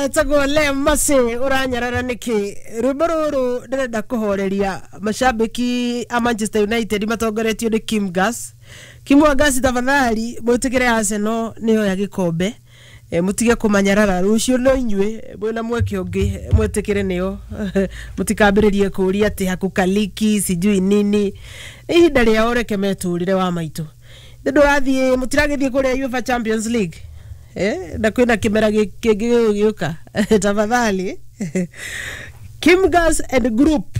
Etagwo Le Masi uranyarara niki rwimbo ruru ndirenda kuhoreria mashabiki a Manchester United matongoretio ni Kim Gas. Kim wa Gas, tafadhali mwitikire Arsenal niyo ya gikombe. Mutige kumanyarara rucio no inyue mwina mweke ungi mwitikire nio mutikambiririe kuria ati hakukaliki sijui nini. Ihinda rĩao reke meturire wa maitu ndurathie mutiragithie kuria UEFA Champions League, na kwina kimera gĩkĩ gĩgũka. Tafadhali, Kim Gas and Group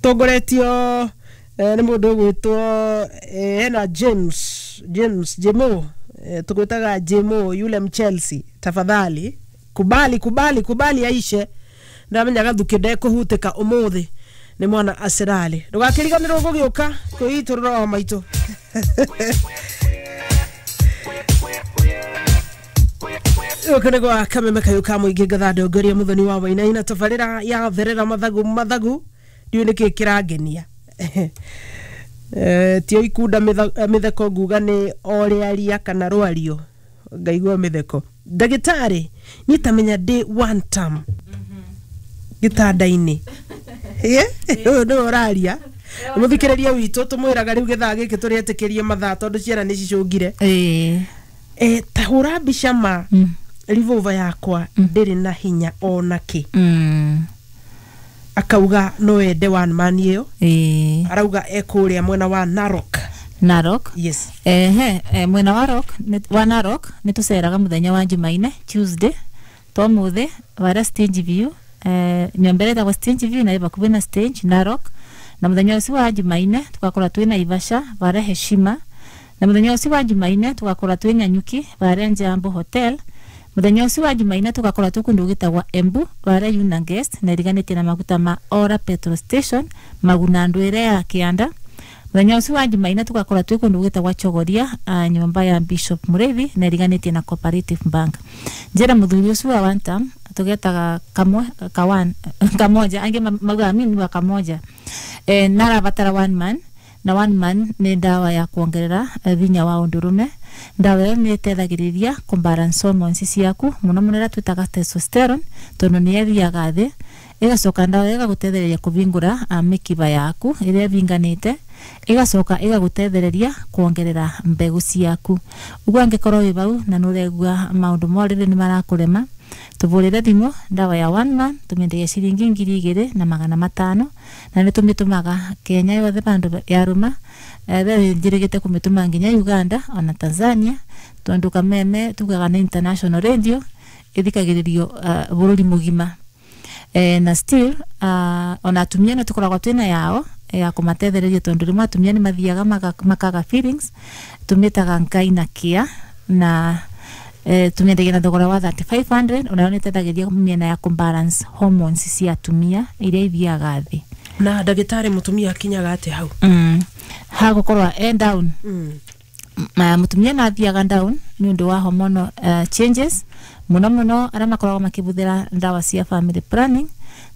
tongoretio nĩ mũndũ ũgwĩtwo hena James Jemo, tugwĩtaga Jemo yule Mchelsea. Tafadhali kubali, kubali, kubali aishe. Ndamenya gathuki ndekũhutĩka ũmũthĩ nĩ mwana Arsenal. Ndũgakĩriganĩrwo gũgĩũka kwĩitũrũra wa maitũ. Gũkũ nĩ gwa kameme kayũ ka mũingĩ ngatha ndongoria Muthoni wa Wainaina, tabarĩra ya therera mathagu mathagu. Ndiũĩ nĩkĩ kĩrangenia. Tio ikunda mĩtheko nguga nĩ o rĩaria kana rwario ngaigua mĩtheko. Ndagĩtarĩ, niĩ tamenya ndĩ one term gĩtanda-inĩ. Ũyũ nĩwe ũraria mũthikĩrĩria witũ, tũmwĩraga rĩu gĩthaa gĩkĩ tũrĩetĩkĩrie mathaa tondũ ciana nĩ cicũngire. Ta hũra mbica ma revolver yakwa ndĩrĩ na hinya ona kĩ. Akauga no ende one man ĩyo. Arauga ekũrĩa mwena wa Narok. Narok. Yes. Ehe, mwena wa Rock wa Narok nĩ tũceraga mũthenya wa Jumaine, Tuesday tomuthi, varia Stage View, nyũmba ĩrĩa ĩtagwo Stage View na ĩ bakubĩ na stage Narok. Na mũthenya ũcio wa Jumaine tugakorwo twĩ Naivasha varia Heshima. Na mũthenya ũcio wa Jumaine tugakorwo twĩ Nyanyuki varia Njambo Hotel. Mũthenya ũcio wa Jumaine tugakorwo twĩ kũndũ gwĩtagwo Embu varia Yuna Guest na iriganĩtie na maguta ma Ora Petrol Station Maguna ndwere ya Kianda. Mũthenya ũcio wa Jumaine tugakorwo twĩ kũndũ gwĩtagwo Chogoria, nyũmba ya Bishop Mureithi na iriganĩtie na Cooperative Bank. Njĩra mũthuri ũcio wa one term tugetaga kamwe kawan kamoja, angĩ maugaga mimi wa kamoja, narabatara one man. Na one man nĩ ndawa ya kuongerera vinya wa ũndũrũme. Ndawa ĩyo nĩ ĩteithagĩrĩria kũbalance hormones ciaku, mũno mũno ĩrĩa twĩtaga testosterone, tondũ nĩ ĩthiaga thĩ. Ĩgacoka ndawa ĩyo ĩgagũteithĩrĩria kũvingũra mĩkiba yaku ĩrĩa ĩvinganĩte, ĩgacoka ĩgagũteithĩrĩria kuongerera mbegũ ciaku. Ũguo angĩkorwo wĩ bau na nĩ ũraigua maũndũ ma ũrĩrĩ nĩ marakũrema, tũbũrĩre thimũ. Ndawa ya one man tũmĩendagia ciringi 2500, na nĩ tũmĩtũmaga Kenya yothe bandũ yarũma. Be njĩrĩgĩte kũmĩtũma nginya Uganda ona Tanzania, tondũ kameme tugaga nĩ international radio, ĩthikagĩrĩrio bũrũri mũgima. Na still ona atumia nĩ tũkoragwo twĩna yao ya kũmatethereria, tondũ rĩmwe atumia nĩ mathiaga makaga feelings, tũmĩtaga ngai na kia. Na tũmĩendagia na thogora wa 3500. Onayo nĩ ĩteithagĩrĩria mĩena ya kũbalance hormones cia atumia iria ithiaga thĩ. Na ndagĩtarĩ, mũtumia akinyaga atĩa hau? Hagũkorwo e down. Mũtumia na athiaga down nĩ ũndũ wa hormonal changes, mũno mũno arĩa makoragwo makĩbũthĩra ndawa cia family planning,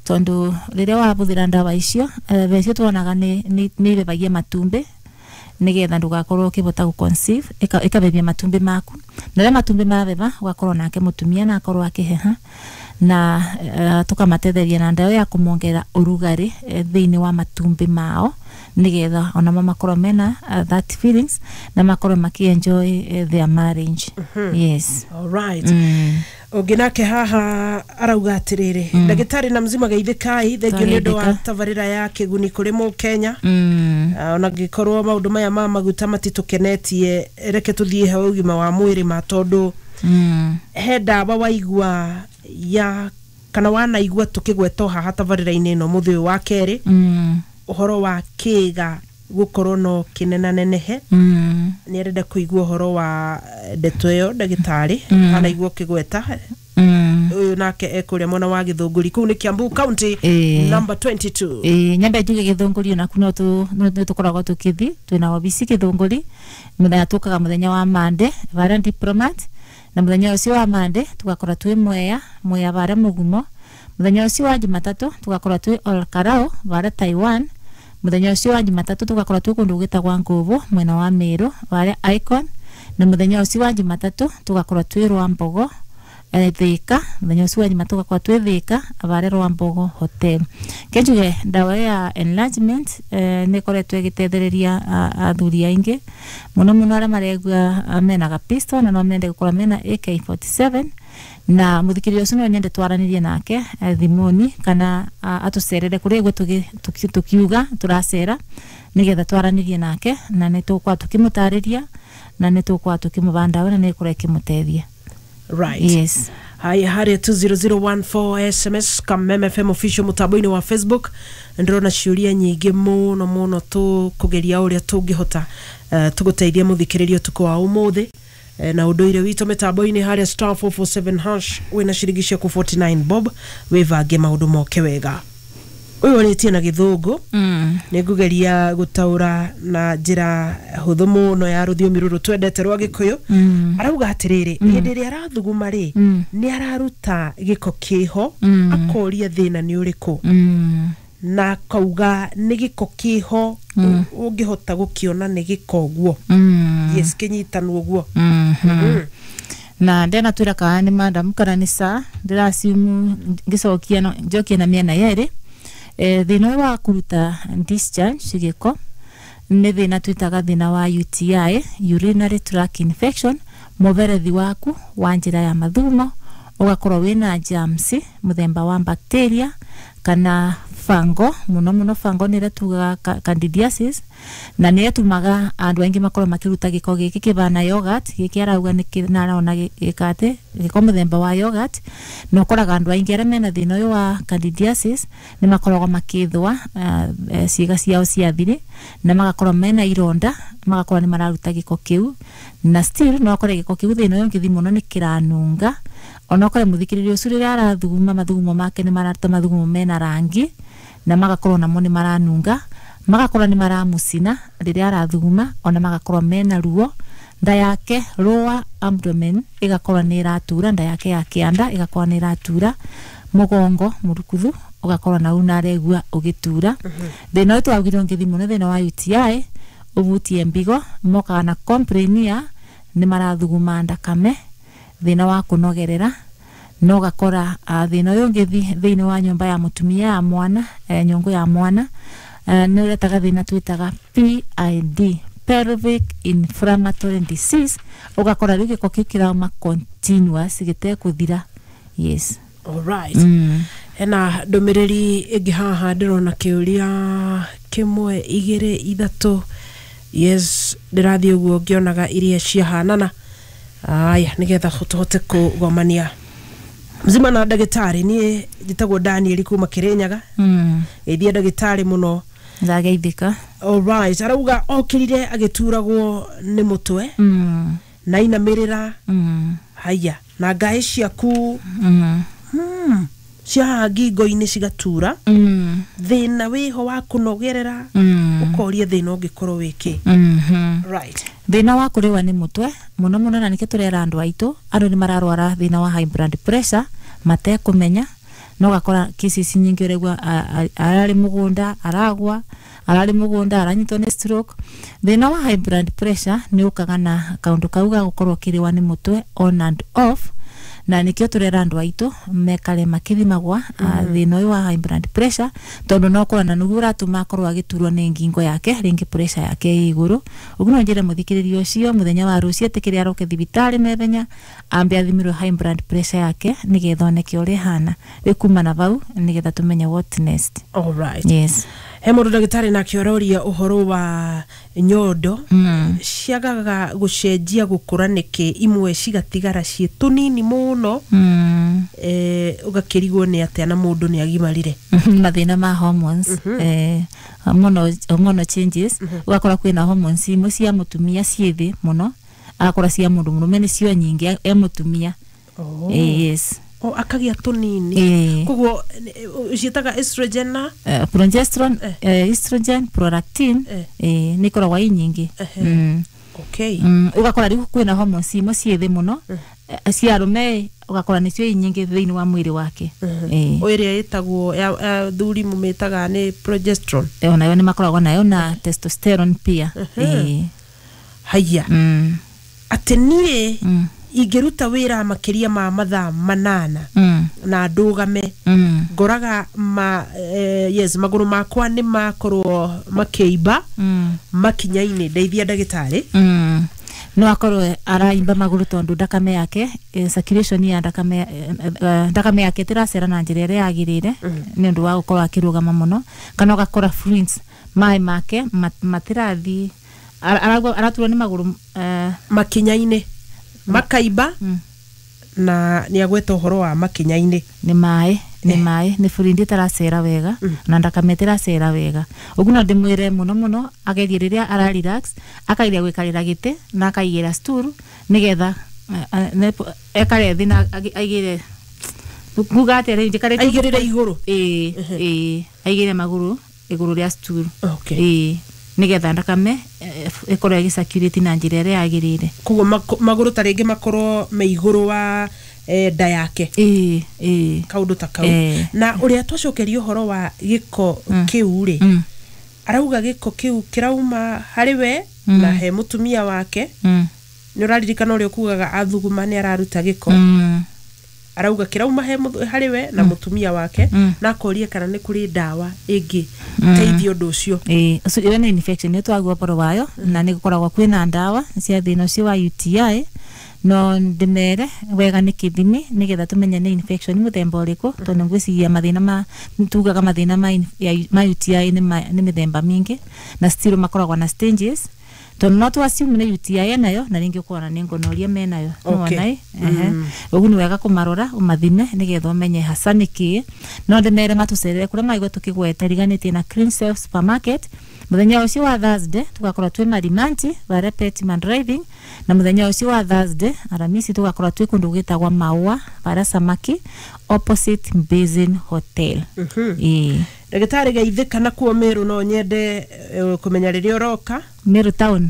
tondũ rĩrĩa wabũthĩra ndawa icio, becio tuonaga nĩ ibebagia matumbĩ nigetha ndugakorwo ukibota gu conceive, ikabebia matumbĩ maku. Na rĩrĩa matumbĩ mabeba, ugakorwo nake mũtumia na akorwo akĩheha. Na tukamatetheria na ndawa ya kũmongerera ũrugarĩ thĩinĩ wa matumbĩ mao, nigetha onamo makorwo mena that feelings na makorwo maki-enjoy their marriage. Yes. Alright. Ũngĩ nake haha arauga atĩrĩrĩ, ndagĩtarĩ na mzima, geithĩkai, thengio nĩ ũndũ wa Twageithĩka. tabarĩra ya kĩguni kũrĩ mũkenya. Ona ngĩkorwo maũndũ maya ma maguta matitũkenetie, reke tũthiĩ he ũgima wa mwĩrĩ ma, tondũ he ndawa waigua ya kana wanaigua tũkĩgwetwo haha tabarĩra-inĩ ĩno mũthĩ ũyũ wa kerĩ, ũhoro wa kĩga gũkorwo no kĩnenanenehe. Nĩ arenda kũigua ũhoro wa ndeto ĩyo, ndagĩtarĩ, anaigua ũkĩgweta. Ũyũ nake ekũrĩa mwena wa Gĩthũngũri, kũu nĩ Kiambu County, number 22. Ĩĩ, nyambe njuge Gĩthũngũri onaku no tũkoragwo tũkĩthi, twĩna wabici Gĩthũngũri. Mũthenya tũkaga mũthenya wa Monday varia Diplomat, na mũthenya ũcio wa Monday tugakorwo twĩ Mwea, Mwea varia Mũgumo. Mũthenya ũcio wa Jumatatũ tugakorwo twĩ Olkarau varia Taiwan. Mũthenya ũcio wa Jumatatũ tugakorwo twĩ kũndũ gwĩtagwa Ngũbũ mwena wa Meru varia Icon. Na mũthenya ũcio wa Jumatatũ tugakorwo twĩ Rwambogo. Thika muthenya ucio wa Njuma tugakorwo twi Thika avare Rwambogo Hotel. Kenjuge ndawa ya enlargement nä ĩkoretwo ĩgĩtethereria athuri aingĩ mũno mũno arĩa maregua mena gapisto na no mende gũkorwo mena AK47, na muthikĩrĩria ũcio no nyende twaranĩrie nake thimũni kana atũcerere kũrĩa ĩguo tukiuga tũracera nĩgetha twaranĩrie nake, na nĩ tũgũkorwo tũkĩmũtarĩria na nĩ tũgũkorwo tũkĩmũba ndawa na nĩ ĩkorwo ĩkĩmũteithia. Right. Yes. Haya, haria 20014 SMS Kameme FM official mutambo-inĩ wa Facebook, ndĩrona ciũria nyingĩ mũno mũno, tũkũgeria ũrĩa tũngĩhota tũgũteithia mũthikĩrĩria ũtukũ wa ũmũthĩ. Na ũndũire witũ mĩtambo-inĩ harĩa *447# wĩna ciringi ciaku 49 bob, wĩvange maũndũ moke wega. Ũyũ ũrĩtie na gĩthũngũ, nĩ ngũgeria gũtaũra na njĩra hũthũ mũno ya rũthiomi rũrũ twendete rwa gĩkũyũ. Arauga atĩrĩrĩ, hĩndĩ ĩrĩa arathuguma rĩ, nĩ araruta gĩko kĩho, akoria thĩna nĩ ũrĩkũ, na akauga nĩ gĩko kĩho, ũngĩhota gũkĩona nĩ gĩko ũguo. Yes, kĩnyitanwo ũguo. Na ndenatwĩra kana nĩ madam kana nĩ sa ndĩraciumu ngĩcokia njokie na mĩena yerĩ. Thĩna ũyũ wa kũruta discharge gĩko nĩ thĩna twĩtaga thĩna wa UTI, urinary tract infection, mũberethi waku wa njĩra ya mathumo ũgakorwo wĩna germs mũthemba wa bacteria kana fango, mũno mũno fango nĩ ĩrĩa tugaga candidiasis, na nĩ ĩtũmaga andũ aingĩ makorwo makĩruta gĩko gĩkĩ kĩbana yogurt. Gĩkĩ arauga nĩ na arona gĩkate gĩko mũthemba wa yogurt, na ũkoraga andũ aingĩ arĩa mena thĩna ũyũ wa candidiasis nĩ makoragwo makĩthũa ciĩga ciao cia thiri na magakorwo mena ironda, magakorwo nĩ mararuta gĩko kĩu, na still no ũkore gĩko kĩu thĩna ũyũ ũngĩthiĩ mũno nĩ kĩranunga. Ona ũkore mũthikĩrĩria ũcio rĩrĩa arathuguma mathugumo make nĩ mararuta mathugumo mena rangi na magakorwo namo nĩ maranunga, magakorwo nĩ maramucina rĩrĩa arathuguma, ona magakorwo mena ruo nda yake, lower abdomen ĩgakorwo nĩ ĩratura, nda yake ya kĩanda ĩgakorwo nĩ ĩratura, mũgongo mũrukuthu ũgakorwo na unaregua ũgĩtura. Thĩna ũyũ twaugire ũngĩthiĩ mũno thĩna wa UTI ũbutie mbigo, mokaga na complain ya nĩ marathuguma ndakame, thĩna wa kũnogerera, no gakora thĩna ũyũ ũngĩthiĩ thĩinĩ wa nyũmba ya mũtumia ya mwana, nyũngũ ya mwana, nĩ ũretaga thĩna twĩtaga PID, pelvic inflammatory disease, ũgakora rĩu gĩko kĩu kĩrauma continuous gĩtekũthira. Yes. Alright. Hena ndũmĩrĩri ĩngĩ haha, ndĩrona kĩũria kĩmwe, igĩrĩ, ithatũ. Yes, ndĩrathiĩ ũguo ngĩonaga iria ciahanana. Aya, nĩgetha tũhote kũgomania mzima na ndagĩtarĩ. Niĩ njĩtagwo Daniel kuma Kĩrĩnyaga. Geithia ndagĩtarĩ mũno. Ndageithĩka. Alright, arauga okĩrire agĩturagwo nĩ mũtwe na inamĩrĩra, haya, na ngaĩ ciaku cia haha ngingo-inĩ cigatura, thĩna wĩho wa kũnogerera, ũkoria thĩna ũngĩkorwo wĩkĩ. Right. Thĩna wa kũrĩwa nĩ mũtwe mũno mũno, na nĩkĩo tũrera andũ aitũ, andũ nĩ mararwara thĩna wa high blood pressure matekũmenya, no gakora cases nyingĩ ũraigua ararĩ mũgũnda aragwa, ararĩ mũgũnda aranyitwo nĩ stroke. Thĩna wa high blood pressure nĩ ũkaga na kaũndũ kau ga gũkorwo ũkĩrĩwa nĩ mũtwe on and off, na nĩkĩo tũrera andũ aitũ mekare makĩthimagwa thĩna ũyũ wa high blood pressure, tondũ no ũkorwo na nĩguo ũratũma akorwo agĩturwo nĩ ngingo yake, rĩngĩ pressure yake ĩ igũrũ. Ũguo no njĩre mũthikĩrĩria ũcio mũthenya wa rũciũ etĩkĩre aroke thibitarĩ naihenya ambe athimirwo high blood pressure yake nĩgetha oneke ũrĩa ĩhana, rĩu kuma na vau nĩgetha tũmenye what next. Alright. Yes. He mũndũ ndagĩtarĩ nake ũroria ũhoro wa nyondo ciagaga gũcenjia gũkũra nĩkĩ, imwe cigatigara ciĩ tũnini mũno, ũgakĩrigwo nĩ atĩa na mũndũ nĩ agimarire. Mathĩna ma hormones, hormonal changes, ũgakora kwĩna hormones imwe cia mũtumia ciĩ thĩ mũno, agakora cia mũndũ mũrũme nĩcio nyingĩ e mũtumia. Yes. O akagia tũnini. Koguo ciĩtaga estrogen na progesterone, estrogen, prolactin, nĩ ikoragwo i nyingĩ. Okay. Ũgakora rĩu kwĩna hormones imwe ciĩ thĩ mũno, cia arũme ũgakora nĩcio i nyingĩ thĩinĩ wa mwĩrĩ wake. O ĩrĩa ĩtagwo ya thuri mũmĩtaga nĩ progesterone. Onayo nĩ makoragwo nayo na testosterone pia. Haya, atĩ niĩ Ingĩruta wĩra makĩria ma mathaa 8 na ndũgame, ngoraga ma, yes, magũrũ makwa nĩ makorwo makĩimba makinya-inĩ. Ndeithia, ndagĩtarĩ. No akorwo araimba magũrũ tondũ ndakame yake, circulation ya ndakame, ndakame yake ĩtiracera na njĩra ĩrĩa yagĩrĩire nĩ ũndũ wa gũkorwo akĩrũgama mũno, kana ũgakora fluids, maĩ make matirathiĩ. Araturwo nĩ magũrũ. Makinya-inĩ makaimba, na nĩ agweta ũhoro wa makinya-inĩ. Nĩ maĩ, nĩ maĩ, nĩ fluid ĩtaracera wega na ndakame ĩtiracera wega. Ũguo no ndĩmwĩre mũno mũno agerie rĩrĩa ara relax, akageria gũikarĩra gĩtĩ na akaigĩra stool nĩgetha ekare thĩ na aigĩre, kuga atĩa rĩu, njikarĩte. Aigĩrĩre igũrũ. Ĩĩ, aigĩre magũrũ igũrũ rĩa stool. Ĩĩ, nĩgetha ndakame ĩkorwo ĩgĩcirculate na njĩra ĩrĩa yagĩrĩire. Koguo magũrũ ta rĩngĩ makorwo me igũrũ wa nda yake. Ĩĩ. Kaũndũ ta kau. Eh. Na ũrĩa twacokeria ũhoro wa gĩko kĩu rĩ, arauga gĩko kĩu kĩrauma harĩ we na he mũtumia wake. Nĩ ũraririkana ũrĩa ũkugaga athuguma nĩ araruta gĩko? Arauga kĩrauma he harĩ we na mũtumia wake, na akoria kana nĩ kũrĩ ndawa ĩngĩ teithia ũndũ ũcio. Ĩĩ, ũcio ĩyo nĩ infection nĩ twagua ũhoro wayo, na nĩ gũkoragwo kwĩna ndawa cia thĩna ũcio wa UTI. No ndĩmere wega nĩ kĩthimi nĩgetha tũmenye nĩ infection mũthemba ũrĩkũ, tondũ ngwĩciria mathĩna ma tugaga mathĩna ma, ma UTI nĩ mĩthemba mĩingĩ na still makoragwo na stages, tondũ no tu assume nĩ UTI enayo na rĩngĩ ũkona nĩ gonorrhea menayo. Nĩwona ĩ? Ehe. Ũguo nĩ wega kũmarora, ũmathime nĩgetha ũmenye hasa nĩ kĩĩ. No ndĩmere matũcerere kũrĩa maigua tũkĩgweta riganĩtie na Clean Self Supermarket. Mũthenya ũcio wa Thursday tũgakorwo twĩ Marimanti varia Petman Driving, na mũthenya ũcio wa Thursday, Aramisi, tũgakorwo twĩ kũndũ gwĩtagwo Maua varia Samaki opposite Basin Hotel. Ĩĩ. Ndagĩtarĩ Geithĩka na kuo Meru, no nyende kũmenya rĩrĩa ũroka. Meru Town.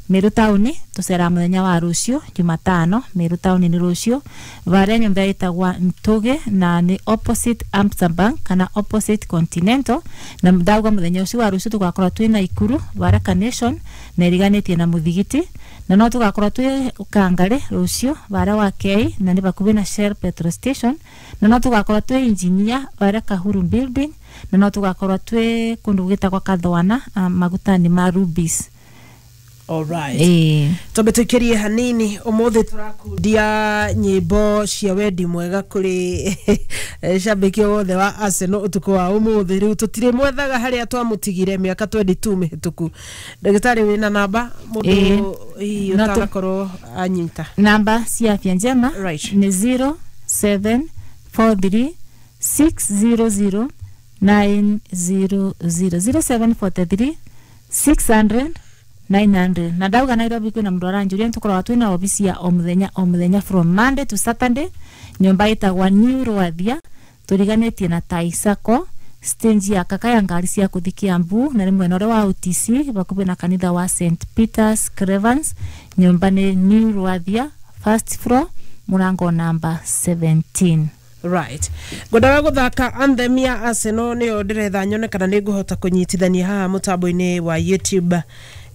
Meru Town tũceraga mũthenya wa rũciũ Jumatano. Meru Town nĩ rũciũ varia nyũmba ĩtagwa Ntũge, na nĩ opposite Amsterdam kana opposite Continental. Na ndauga mũthenya ũcio wa rũciũ tũgakorwo twĩ Naikuru varia Carnation na ĩriganĩtie na mũthigiti, na no tũgakorwo twĩ Kangari rũciũ varia wa Kei na nĩ bakuhĩ na Shell petrol station, na no tũgakorwo twĩ Engineer varia Kahuru building, na no tũgakorwo twĩ kũndũ gwĩtagwa Kathwana, magutani ma Rubis. Alright. Ĩĩ. Twambe tũikĩrie hanini. Ũmũthĩ tũrakundia nyĩmbo cia wendi mwega kũrĩ cambĩki wothe wa Arsenal ũtukũ wa ũmũthĩ. Rĩu tũtirĩ mwethaga harĩa twamũtigire mĩaka 22 mĩhĩtũku. Ndagĩtarĩ, wĩna namba mũndũ Ĩĩ. hihi No ũtanakorwo anyita? Namba cia Afya Njema nĩ 0743 600 900, 0743 600 900. Na ndauga Nairobi kwĩna mũndũ aranjũria, nĩtũkoragwo twĩna obici ya o mũthenya o mũthenya from Monday to Saturday, nyũmba ĩtagwa New Rwathia, tũriganĩtie na Taisako stage ya kaka ya ngari cia kũthi Kiambu, na nĩ mwena ũrĩa wa OTC bakuhĩ na kanitha wa St Peters Cravens. Nyũmba nĩ New Rwathia, first floor, mũrango namba 17. Right, ngwendaga gũthaka anthem ya Arsenal, nĩyo ndĩretha nyone kana nĩ ngũhota kũnyitithania haha mũtambo-inĩ wa YouTube.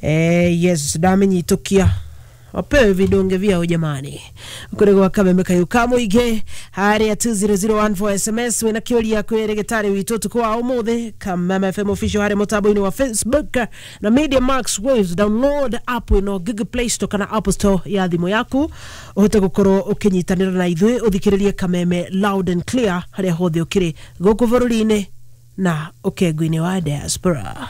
Yes, ndamenyitũkia, wapewe vidonge vyao jamani, kũrĩ gwa kameme kayũ ka mũingĩ harĩa 20014 SMS wĩna kĩũria kwĩ rĩgĩtarĩ witũ ũtukũ wa ũmũthĩ. Kameme FM Official harĩ mũtambo-inĩ wa Facebook na Media Max Waves. Download app ĩno Google Play Store kana Apple Store ya thimũ yaku, ũhote gũkorwo ũkĩnyitanĩra na ithuĩ, ũthikĩrĩrie Kameme loud and clear harĩa hothe ũkĩrĩ gũkũ bũrũri-inĩ na ũkengu-inĩ wa diaspora.